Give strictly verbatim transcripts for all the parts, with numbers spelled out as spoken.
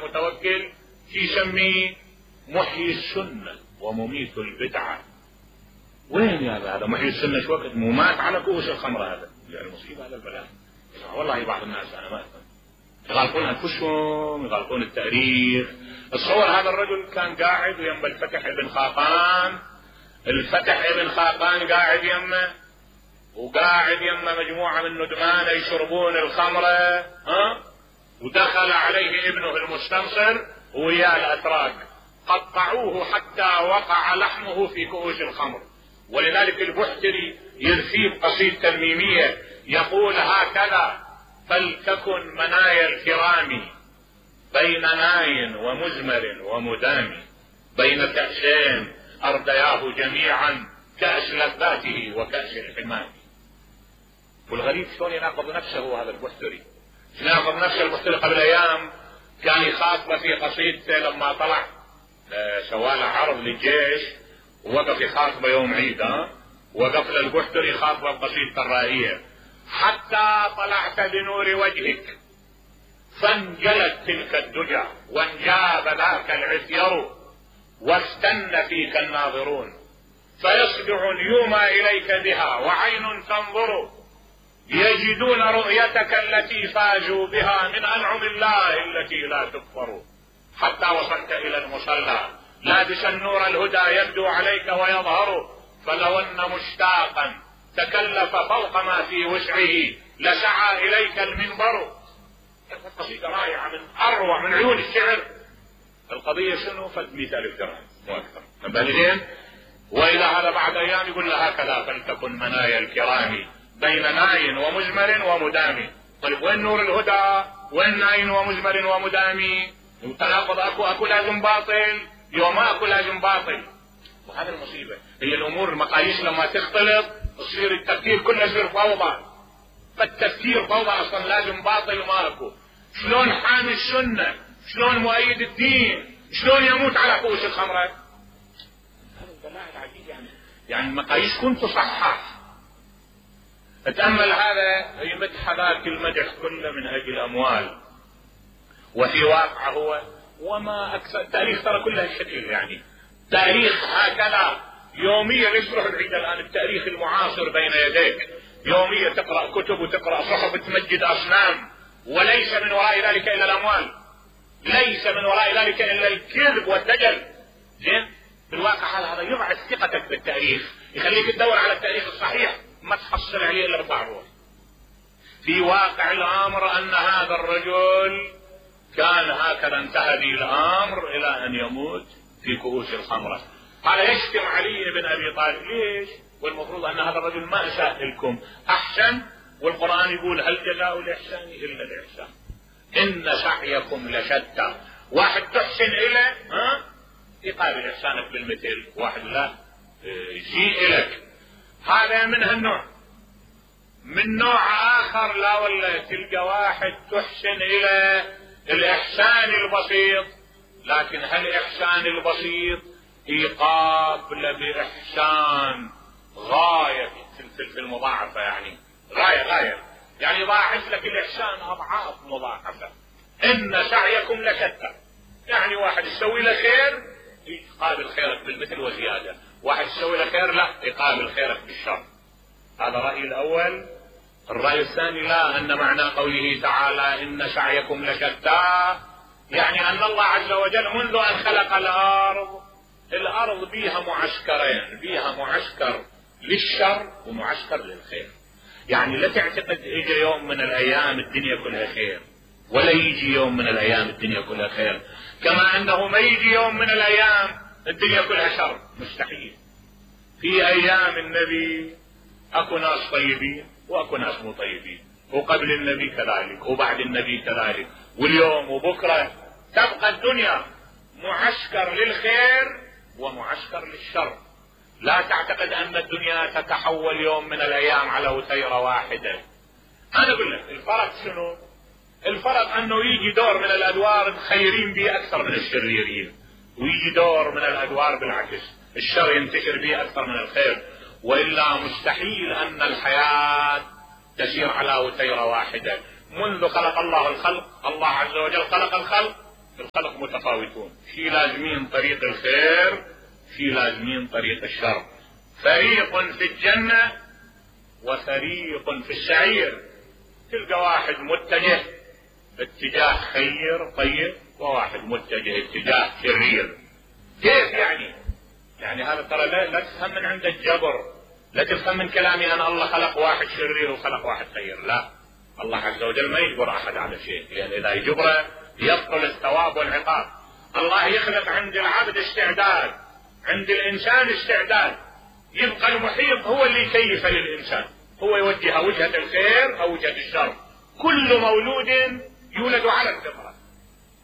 المتوكل يسميه محيي السنة ومميت البدعة. وين يا هذا محيي السنة شو وقت مو مات على كؤوس الخمر؟ هذا يعني مصيبة هذا البلاء. والله بعض الناس انا ما افهم يغلطون انفسهم يغلطون التاريخ. تصور هذا الرجل كان قاعد يم الفتح ابن خاقان، الفتح ابن خاقان قاعد يمه وقاعد يمه مجموعة من ندمان يشربون الخمرة، ها، ودخل عليه ابنه المستنصر ويا الاتراك قطعوه حتى وقع لحمه في كؤوس الخمر. ولذلك البحتري يرثي قصيدة ميمية يقول هكذا: فلتكن منايا الكرام بين ناي ومزمر ومدام، بين كأسين أردياه جميعا كأس لذاته وكأس الحمام. والغريب شلون يناقض نفسه هذا البحتري، يناقض نفسه البحتري. قبل أيام كان يخاطب في قصيدته لما طلع سواله عرض للجيش ووقف يخاطبه يوم عيد، ها، وقف للبحتري خاطبه بقصيدة الرائية: حتى طلعت بنور وجهك فانجلت تلك الدجى وانجاب ذاك العثير واستن فيك الناظرون فيصدع اليوم إليك بها وعين تنظر يجدون رؤيتك التي فازوا بها من أنعم الله التي لا تكفر. حتى وصلت إلى المصلى لابسا نور الهدى يبدو عليك ويظهر، فلو أن مشتاقا تكلف فوق ما في وسعه لسعى إليك المنبر. قصيدة رائعة من أروع من عيون الشعر. القضية شنو؟ فد مئة ألف درهم مو أكثر. بعدين وإلى هذا بعد أيام يقول له هكذا: فلتكن منايا الكرام بين ناي ومزمر ومدام. طيب وين نور الهدى؟ وين ناي ومزمر ومدام؟ تناقض. أكو أكو لازم باطل، يوم أكو لازم باطل. وهذا المصيبة. هي الأمور المقاييس لما تختلط تصير التفكير كله يصير فوضى. فالتفكير فوضى أصلا، لازم باطل وما أكو. شلون حامي السنة؟ شلون مؤيد الدين؟ شلون يموت على كؤوس الخمرة؟ هذا البلاء العجيب. يعني يعني المقاييس كنت صحح. اتأمل هذا يمدح ذاك المدح كله من أجل أموال، وفي واقع هو وما أكثر. التاريخ ترى كله الشكل، يعني تاريخ هكذا يوميا يصبح العيد. الآن التاريخ المعاصر بين يديك، يوميا تقرأ كتب وتقرأ صحف تمجد أصنام، وليس من وراء ذلك إلا الأموال، ليس من وراء ذلك إلا الكذب والدجل. زين؟ بالواقع هذا يضعف ثقتك بالتاريخ، يخليك تدور على التاريخ الصحيح ما تحصل عليه إلا بضاعه. في واقع الأمر أن هذا الرجل كان هكذا انتهى به الأمر إلى أن يموت في كؤوس الخمرة. قال يشتم علي بن أبي طالب. ليش؟ والمفروض أن هذا الرجل ما أساء لكم، أحسن. والقرآن يقول هل جزاء الإحسان إلا الإحسان إن سعيكم لشتى. واحد تحسن إليه، ها، يقابل إحسانك بالمثل، واحد لا يسيء لك. هذا من هالنوع. من نوع آخر لا والله تلقى واحد تحسن إلى الإحسان البسيط، لكن هل الإحسان البسيط يقابل بإحسان غاية في المضاعفة، يعني غاية غاية، يعني ضاعف لك الإحسان أضعاف مضاعفة. إن سعيكم لشتى. يعني واحد يسوي له خير يقابل خيرك بالمثل وزيادة، واحد يسوي له خير لا يقابل خيرك بالشر. هذا رأيي الأول. الرأي الثاني لا، أن معنى قوله تعالى إن سعيكم لشتى يعني أن الله عز وجل منذ أن خلق الأرض، الأرض بيها معسكرين، بيها معسكر للشر ومعسكر للخير. يعني لا تعتقد يجي يوم من الأيام الدنيا كلها خير، ولا يجي يوم من الأيام الدنيا كلها خير، كما أنه ما يجي يوم من الأيام الدنيا كلها شر، مستحيل. في أيام النبي أكو ناس طيبين وأكو ناس مو طيبين، وقبل النبي كذلك وبعد النبي كذلك، واليوم وبكرة تبقى الدنيا معسكر للخير ومعسكر للشر. لا تعتقد أن الدنيا تتحول يوم من الأيام على وتيرة واحدة. أنا أقول لك الفرق شنو؟ الفرق أنه يجي دور من الأدوار الخيرين به أكثر من الشريرين، ويجي دور من الأدوار بالعكس الشر ينتشر به أكثر من الخير. وإلا مستحيل أن الحياة تسير على وتيرة واحدة. منذ خلق الله الخلق، الله عز وجل خلق الخلق الخلق متفاوتون، شي لازمين طريق الخير، شي لازمين طريق الشر. فريق في الجنة وفريق في السعير. تلقى واحد متجه اتجاه خير طيب، وواحد متجه اتجاه شرير. كيف يعني؟ يعني هذا ترى لا, لا تفهم من عند الجبر، لا تفهم من كلامي انا الله خلق واحد شرير وخلق واحد خير، لا، الله عز وجل ما يجبر احد على شيء، لان اذا يجبره يبطل الثواب والعقاب. الله يخلق عند العبد استعداد، عند الانسان استعداد، يبقى المحيط هو اللي يكيف للانسان، هو يوجه وجهة الخير او وجهة الشر. كل مولود يولد على الفطرة،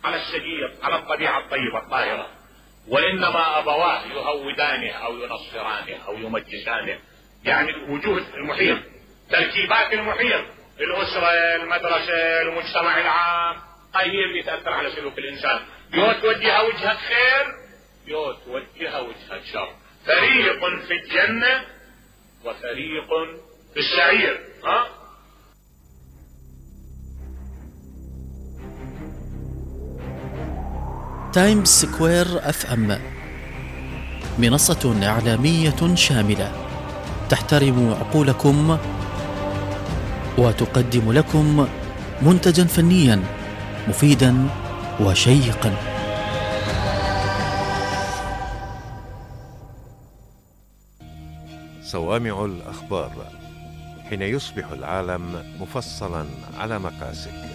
على السجية، على الطبيعة الطيبة الطاهرة، وانما ابواه يهودانه او ينصرانه او يمجسانه. يعني وجوه المحيط، تركيبات المحيط، الاسرة، المدرسة، المجتمع العام، هي اللي تأثر على سلوك الانسان. يو توجه وجهة خير، يو توجه وجهة شر. فريق في الجنة وفريق في السعير. ها؟ تايمز سكوير اف ام منصة إعلامية شاملة تحترم عقولكم وتقدم لكم منتجا فنيا مفيدا وشيقا. صوامع الأخبار، حين يصبح العالم مفصلا على مقاسك.